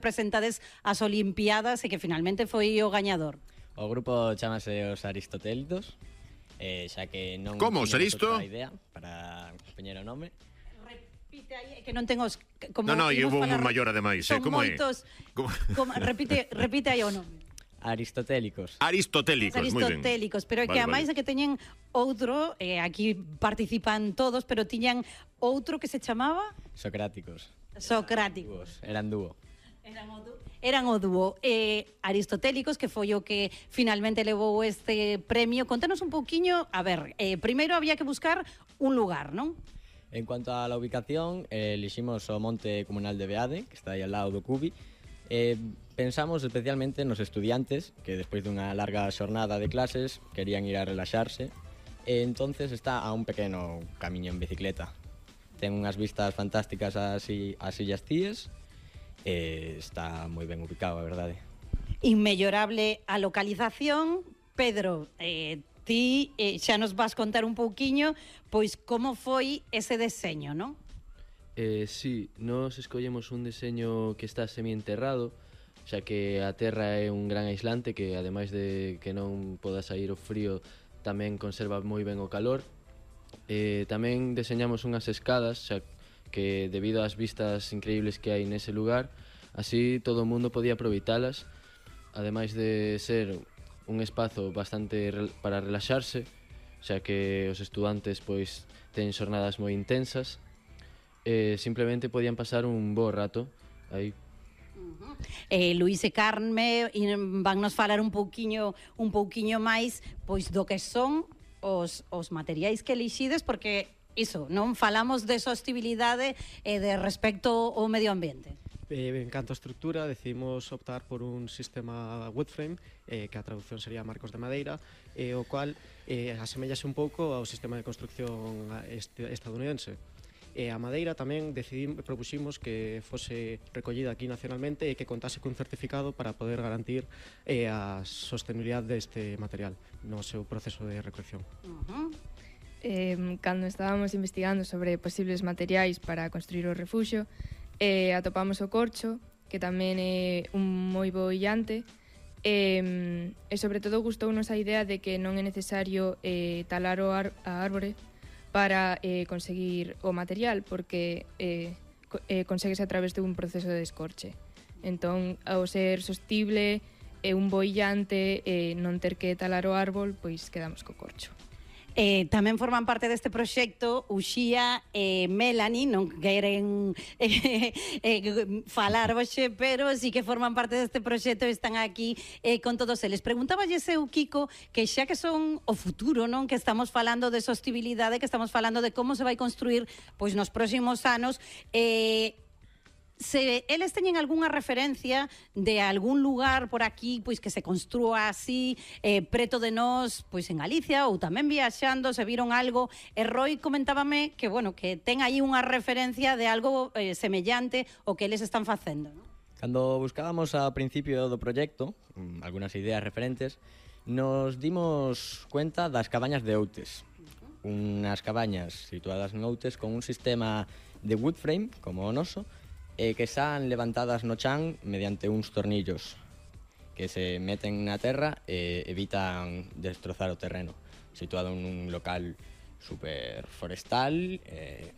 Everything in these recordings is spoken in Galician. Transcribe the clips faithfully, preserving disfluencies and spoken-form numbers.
presentades as Olimpiadas e que finalmente foi o gañador. O grupo chamase os Aristotélicos, eh, xa que non Como, tiñamos Aristo? outra idea para poñer o nome. Repite aí, que non tengo os... Como No, no, e imos hubo un falar- maior ademais, eh, son como é? moitos, Como- como, repite, repite aí o nome. Aristotélicos. Aristotélicos, moi ben. Aristotélicos, pero é que Vale, a máis vale. de que teñen outro, eh, aquí participan todos, pero tiñan outro que se chamaba Socráticos. Socráticos. Dúos, eran dúo. Eran o dúo, eran o dúo eh, Aristotélicos, que foi o que finalmente levou este premio. Contanos un pouquiño, a ver, eh, primeiro había que buscar un lugar, non? En cuanto a la ubicación, eh, eliximos o Monte Comunal de Beade, que está aí al lado do Cubi. Eh, pensamos especialmente nos estudiantes que despois dunha larga xornada de clases querían ir a relaxarse, e entonces está a un pequeno camiño en bicicleta. Ten unhas vistas fantásticas ás, i- ás Illas Cíes, e está moi ben ubicado, a verdade. Inmellorable a localización. Pedro, eh, ti eh, xa nos vas contar un pouquiño pois como foi ese deseño, non? Eh, sí, nos escollemos un deseño que está semienterrado, xa que a terra é un gran aislante que, ademais de que non poda sair o frío, tamén conserva moi ben o calor. Eh, tamén deseñamos unhas escadas, xa que debido ás vistas increíbles que hai nese lugar, así todo o mundo podía aproveitalas, ademais de ser un espazo bastante rel- para relaxarse, xa que os estudantes pois teñen xornadas moi intensas. Eh, simplemente podían pasar un bo rato aí. Eh, Luís e Carme van nos falar un pouquiño un pouquiño máis pois do que son os, os materiais que elixides, porque iso, non falamos de sostenibilidade e de respecto ao medio ambiente. Eh, en canto a estructura, decidimos optar por un sistema wood frame, eh, que a traducción sería marcos de madeira, eh, o cual eh, asemellase un pouco ao sistema de construcción este, estadounidense. E a madeira tamén decidimos, propuximos que fose recollida aquí nacionalmente e que contase cun certificado para poder garantir eh, a sostenibilidade deste material no seu proceso de recolección. Uh-huh. Eh, cando estábamos investigando sobre posibles materiais para construir o refuxio, eh, atopamos o corcho, que tamén é un moi bo illante, e, e sobre todo gustounos a idea de que non é necesario eh, talar o ar, a árbore para eh, conseguir o material, porque eh, co- eh, conseguese a través dun proceso de descorche. Entón, ao ser sostible, e un bo illante, e non ter que talar o árbol, pois quedamos co corcho. Eh, tamén forman parte deste proxecto Uxía e Melanie, non queren eh, eh, falar hoxe, pero sí que forman parte deste proxecto e están aquí eh, con todos eles. Preguntáballe eu, Kiko, que xa que son o futuro, non, que estamos falando de sostenibilidade, que estamos falando de como se vai construir pois nos próximos anos, eh, se eles teñen algunha referencia de algún lugar por aquí pois que se construa así eh, preto de nós, pois en Galicia ou tamén viaxando, se viron algo. E Roy comentábame que, bueno, que ten aí unha referencia de algo eh, semellante ao que eles están facendo, non? Cando buscábamos ao principio do proxecto mm, algunhas ideas referentes, nos dimos cuenta das cabañas de Outes. Unhas cabañas situadas en Outes con un sistema de wood frame, como o noso, e que están levantadas no chan mediante uns tornillos que se meten na terra e evitan destrozar o terreno. Situado en un local super forestal e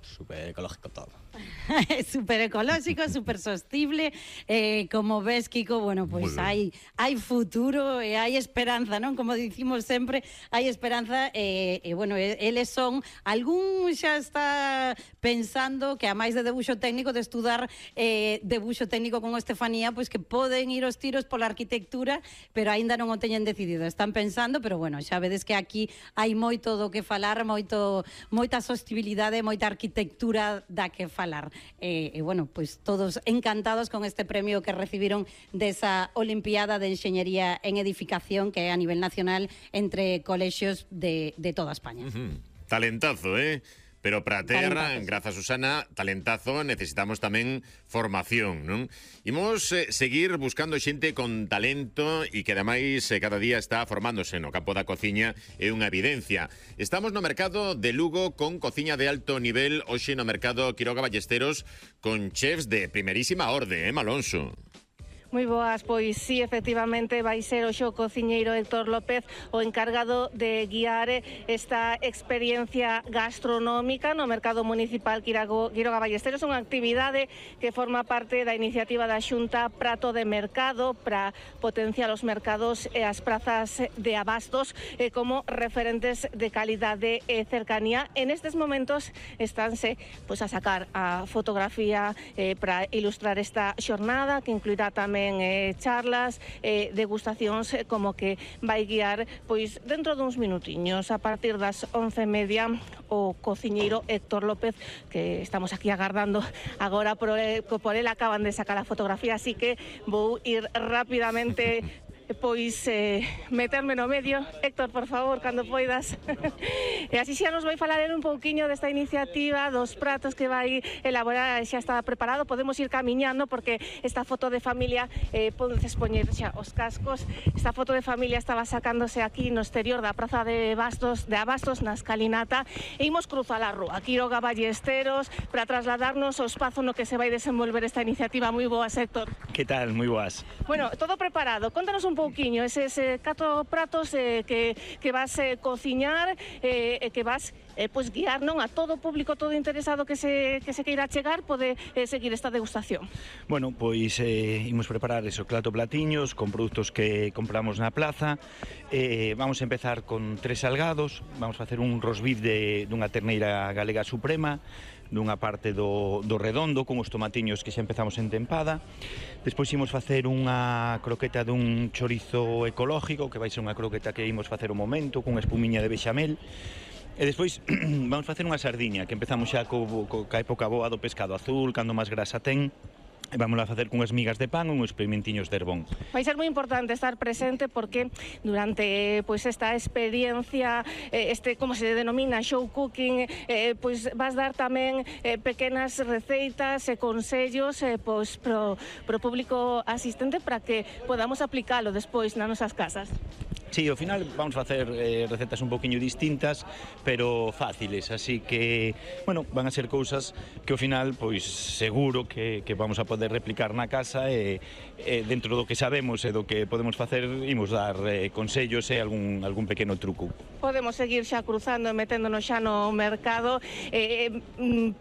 super ecológico todo. Super ecolóxico, super sostible, eh, como ves, Kiko, bueno, pois hai hai futuro e hai esperanza, non? Como dicimos sempre, hai esperanza e, e bueno, e, eles son, algún xa está pensando que a máis de debuxo técnico, de estudar eh, debuxo técnico con Estefanía, pois que poden ir os tiros pola arquitectura, pero aínda non o teñen decidido, están pensando, pero bueno, xa vedes que aquí hai moito do que falar, moito moita sostibilidade, moita arquitectura da que falar. E, e bueno, pois todos encantados con este premio que recibiron desa Olimpiada de Enxeñería en Edificación, que é a nivel nacional entre colexios de, de toda España. Uh-huh. Talentazo, eh? pero para ter, grazas Susana, talentazo, necesitamos tamén formación, non? Imos eh, seguir buscando xente con talento e que ademais eh, cada día está formándose no campo da cociña, é unha evidencia. Estamos no mercado de Lugo con cociña de alto nivel, hoxe no mercado Quiroga Ballesteros con chefs de primerísima orde, eh, Malonso? Moi boas, pois sí, efectivamente vai ser o xo cociñeiro Héctor López o encargado de guiar esta experiencia gastronómica no mercado municipal Quiroga Ballesteros, unha actividade que forma parte da iniciativa da Xunta Prato de Mercado para potenciar os mercados e as prazas de abastos eh, como referentes de calidade e cercanía. En estes momentos estánse pois, a sacar a fotografía eh, para ilustrar esta xornada que incluirá tamén Eh, charlas, eh, degustacións eh, como que vai guiar pois dentro duns minutiños a partir das once e media o cociñeiro Héctor López, que estamos aquí agardando agora por el, por el acaban de sacar a fotografía, así que vou ir rapidamente pois eh, meterme no medio. Héctor, por favor, cando poidas. E así xa nos vai falar un pouquiño desta iniciativa, dos pratos que vai elaborar, xa está preparado, podemos ir camiñando porque esta foto de familia, eh, podes poñer xa os cascos, esta foto de familia estaba sacándose aquí no exterior da Praza de Bastos, de Abastos, na escalinata, e imos cruzar a rúa, Quiroga Ballesteros, para trasladarnos ao espazo no que se vai desenvolver esta iniciativa. Moi boas, Héctor. Que tal? Moi boas. Bueno, todo preparado, contanos un pouquiño, eses eh, catro pratos eh, que, que vas eh, cociñar e eh, que vas eh, pues, guiar non a todo o público, todo interesado que se, que se queira chegar, pode eh, seguir esta degustación. Bueno, pois eh, imos preparar eso, clato platiños con produtos que compramos na plaza. Eh, vamos a empezar con tres salgados, vamos a facer un rosbif de, dunha terneira galega suprema, dunha parte do, do redondo con os tomatiños que xa empezamos en tempada. Despois imos facer unha croqueta dun chorizo ecológico, que vai ser unha croqueta que imos facer o momento, con espumiña de bechamel. E despois vamos facer unha sardiña, que empezamos xa co, co, ca época boa do pescado azul, cando máis grasa ten. E vamos a facer cunhas migas de pan e uns pimentiños de herbón. Vai ser moi importante estar presente porque durante pois esta experiencia, este como se denomina show cooking, eh, pois vas dar tamén eh, pequenas receitas e consellos eh, pois pro, pro público asistente para que podamos aplicalo despois nas nosas casas. Sí, ao final vamos facer eh, recetas un poquinho distintas, pero fáciles, así que, bueno, van a ser cousas que ao final, pois, seguro que, que vamos a poder replicar na casa e, e dentro do que sabemos e do que podemos facer, imos dar eh, consellos e algún, algún pequeno truco. Podemos seguir xa cruzando e meténdonos xa no mercado. Eh,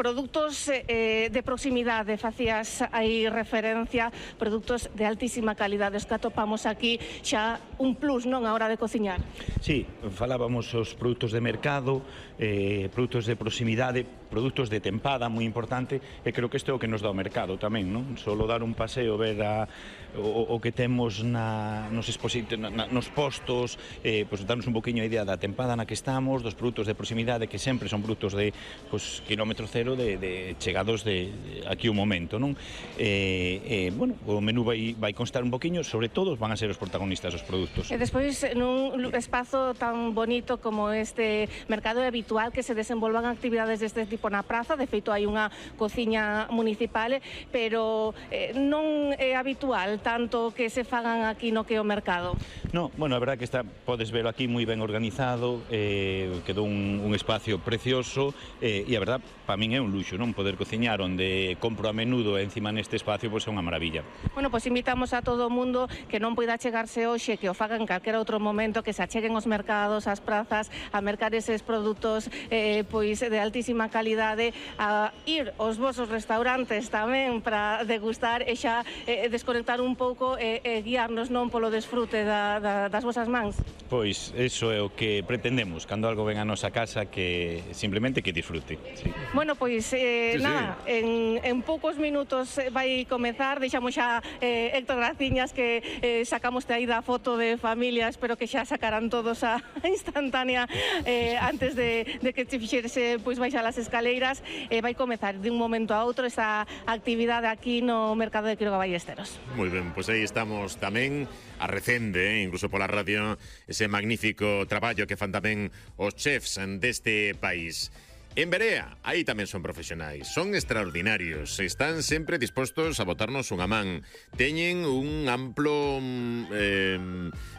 produtos eh, de proximidade, facías aí referencia, produtos de altísima calidade, os que atopamos aquí xa un plus, non, a hora de cociñar. Sí, falábamos os produtos de mercado, eh, produtos de proximidade, produtos de tempada, moi importante, e creo que isto é o que nos dá o mercado tamén, non? Solo dar un paseo, ver a, o, o que temos na, nos, na, nos postos, eh, pues, darnos un poquinho a idea da tempada na que estamos, dos produtos de proximidade, que sempre son produtos de pues, kilómetro cero, de, de chegados de, de aquí un momento, non? Eh, eh, bueno, o menú vai, vai constar un poquinho, sobre todo van a ser os protagonistas os produtos. E despois, nun espazo tan bonito como este mercado, é habitual que se desenvolvan actividades deste tipo na praza. De feito, hai unha cociña municipal, pero eh, non é habitual tanto que se fagan aquí no que o mercado. No, bueno, a verdad que está, podes verlo aquí moi ben organizado, eh, quedou un, un espacio precioso, eh, e a verdad, para min é un luxo, non? Poder cociñar onde compro a menudo e encima neste espacio, pois é unha maravilla. Bueno, pois invitamos a todo o mundo que non poida chegarse hoxe, que o fagan en calquera outro momento, que se acheguen os mercados, as prazas, a mercar eses produtos eh, pois de altísima calidade, a ir aos vosos restaurantes tamén para degustar e xa eh, desconectar un pouco e eh, eh, guiarnos non polo desfrute da, da, das vosas mans. Pois iso é o que pretendemos cando algo ven a nosa casa, que simplemente que disfrute. Sí. Bueno, pois eh, sí, nada, sí. En, en poucos minutos vai comezar, deixamos xa eh, Héctor Graciñas que eh, sacamos aí da foto de familia, espero que xa sacarán todos a instantánea eh, antes de, de que te fixerse pois baixar as escaleiras. Eh, vai comezar de un momento a outro esta actividade aquí no mercado de Quiroga Ballesteros. Moi ben, pois aí estamos tamén a recende, eh, incluso pola radio, ese magnífico traballo que fan tamén os chefs deste país. En Berea, aí tamén son profesionais, son extraordinarios, están sempre dispostos a botarnos unha man. Teñen un amplo eh,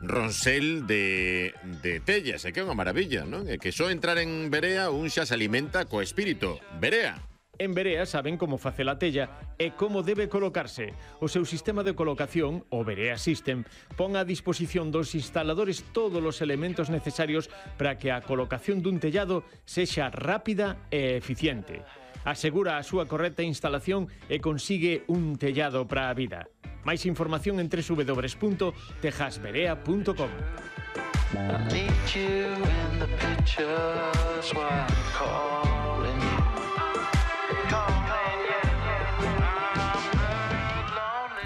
ronsel de, de tellas, e que é unha maravilla, non? E que só entrar en Berea un xa se alimenta co espírito. Berea. En Berea saben como facer a tella e como debe colocarse. O seu sistema de colocación, o Berea System, pon a disposición dos instaladores todos os elementos necesarios para que a colocación dun tellado sexa rápida e eficiente. Asegura a súa correcta instalación e consigue un tellado para a vida. Máis información en doble u doble u doble u punto tejasberea punto com.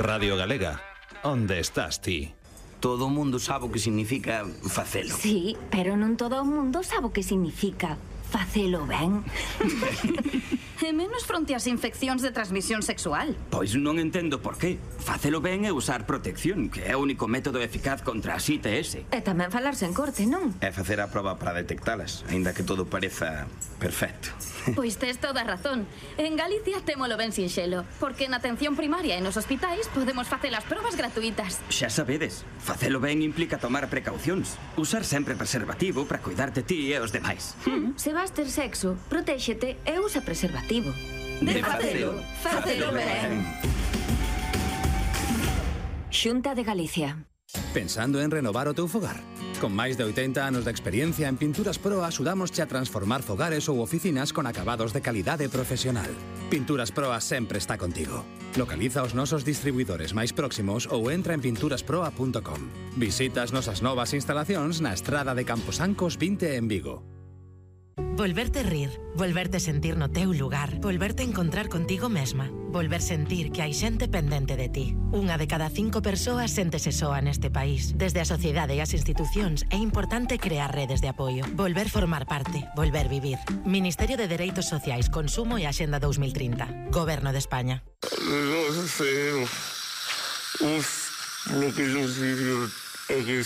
Radio Galega, onde estás ti? Todo o mundo sabe o que significa facelo. Sí, pero non todo o mundo sabe o que significa facelo ben. E menos fronte ás infeccións de transmisión sexual. Pois non entendo por qué. Facelo ben é usar protección, que é o único método eficaz contra as I T S. E tamén falarse en corte, non? É facer a proba para detectalas, aínda que todo pareza perfecto. Pois tes toda a razón. En Galicia témolo ben sinxelo, porque na atención primaria e nos hospitais podemos facer as probas gratuitas. Xa sabedes, facelo ben implica tomar precaucións. Usar sempre preservativo para cuidar de ti e os demais. Mm, se vas ter sexo, protéxete e usa preservativo. De facelo, facelo ben. Xunta de Galicia. Pensando en renovar o teu fogar? Con máis de oitenta anos de experiencia en Pinturas Pro axudámosche a transformar fogares ou oficinas con acabados de calidade profesional. Pinturas Pro sempre está contigo. Localiza os nosos distribuidores máis próximos ou entra en pinturas proa punto com. Visita as nosas novas instalacións na estrada de Camposancos vinte en Vigo. Volverte rir, volverte sentir no teu lugar, volverte encontrar contigo mesma, volver sentir que hai xente pendente de ti. Unha de cada cinco persoas séntese soa neste país. Desde a sociedade e as institucións é importante crear redes de apoio, volver formar parte, volver vivir. Ministerio de Dereitos Sociais, Consumo e Axenda dos mil trinta. Goberno de España. Non sei. Uf, lo que eu digo é que...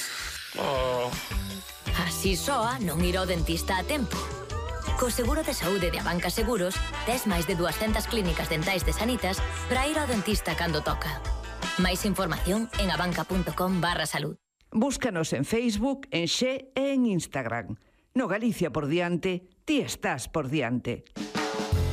Así soa non ir ao dentista a tempo. Co seguro de saúde de Abanca Seguros, tes máis de duascentas clínicas dentais de Sanitas para ir ao dentista cando toca. Máis información en abanca punto com barra salud. Búscanos en Facebook, en Xe e en Instagram. No Galicia por diante, ti estás por diante.